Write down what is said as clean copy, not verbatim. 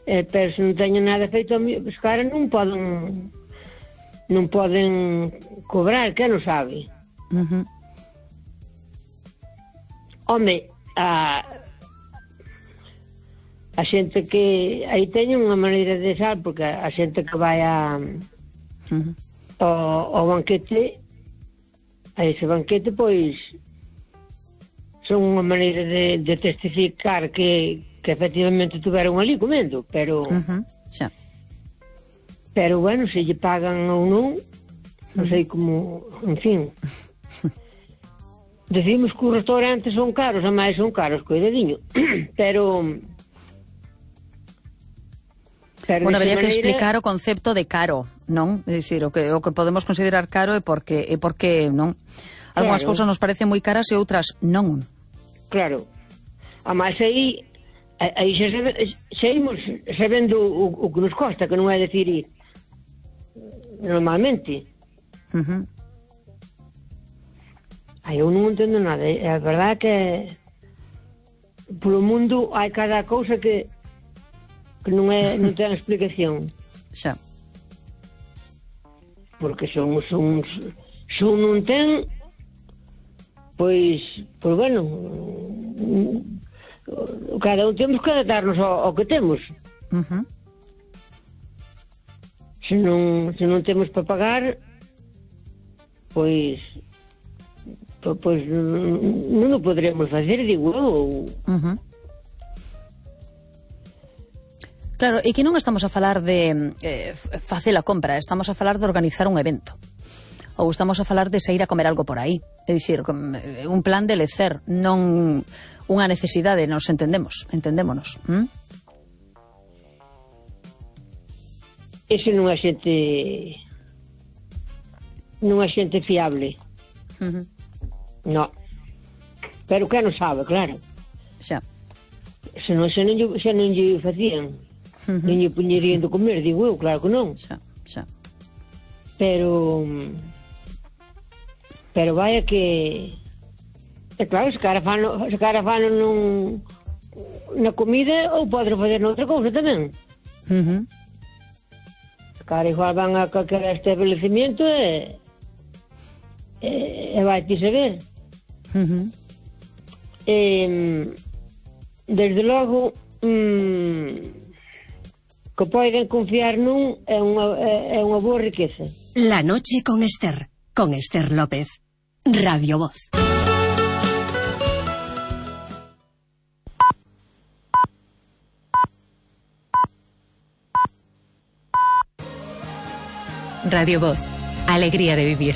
Pero se non teñen nada feito, os caras non poden cobrar, que non sabe. Home, a xente que aí teñen unha maneira de sal, porque a xente que vai ao banquete, a ese banquete, pois son unha maneira de testificar que efectivamente tuveron ali comendo, pero pero bueno, se lle pagan ou non, non sei como, en fin. Decimos que os restaurantes son caros, a máis son caros, coidadiño, pero bueno, habería que explicar o concepto de caro, non? É dicir, o que podemos considerar caro é porque non? Algúnas cousas nos parecen moi caras e outras non. Claro. A máis aí seguimos sabendo o que nos costa, que non é decir normalmente. Eu non entendo nada. É verdade que polo mundo hai cada cousa que non ten explicación. Xa. Porque son non ten, pois bueno, cada un temos que adaptarnos ao que temos. Se non temos para pagar, pois non o poderemos facer, digo eu. Claro, e que non estamos a falar de facer a compra, estamos a falar de organizar un evento. Ou estamos a falar de sair a comer algo por aí. É dicir, un plan de lecer, non unha necesidade, nos entendémonos. Ese non é xente fiable. No. Pero que non sabe, claro. Xa. Se non lle facían, non lle puñerían de comer, digo eu, claro que non. Xa. Pero vaya que claro, se cara fano na comida, ou poden facer noutra cousa tamén. Se cara igual van a calquera establecimiento e vai ti saber. Desde logo que poden confiar nun é unha boa riqueza. La noche con Esther López, Radio Voz. Radio Voz, alegría de vivir.